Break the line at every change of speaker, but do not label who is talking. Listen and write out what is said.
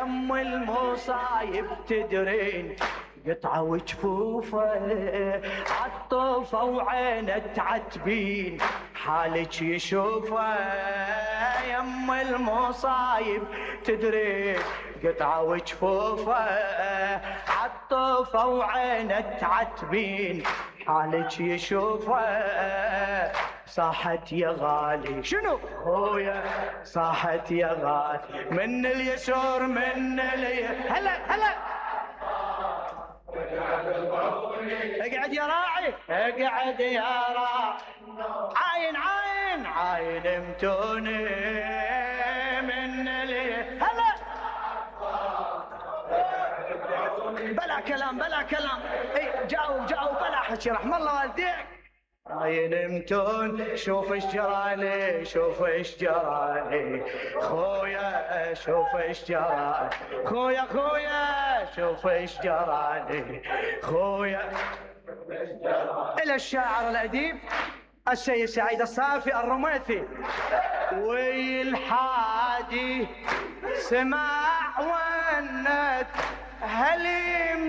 ام المصايب تدرين قطعة وجفوفه عالطوفة وعينه تعتبين حالك يشوفه. يم المصايب تدرين قطعة وجفوفه عالطوفة وعينه تعتبين حالك يشوفه. صاحت يا غالي شنو خويا صاحت يا غالي من اليسار من هلا هلا اقعد يا راعي اقعد يا راعي عاين عاين عاين متوني من هلا بلا كلام بلا كلام. اي جاوب بلا حكي رحم الله والديك. عاين متون شوف ايش جرالي شوف ايش جرالي خويا شوف ايش جرالي خويا شوف ايش جرالي خويا. الى الشاعر الاديب السيد سعيد الصافي الرميثي. والحادي سمع ونت هليم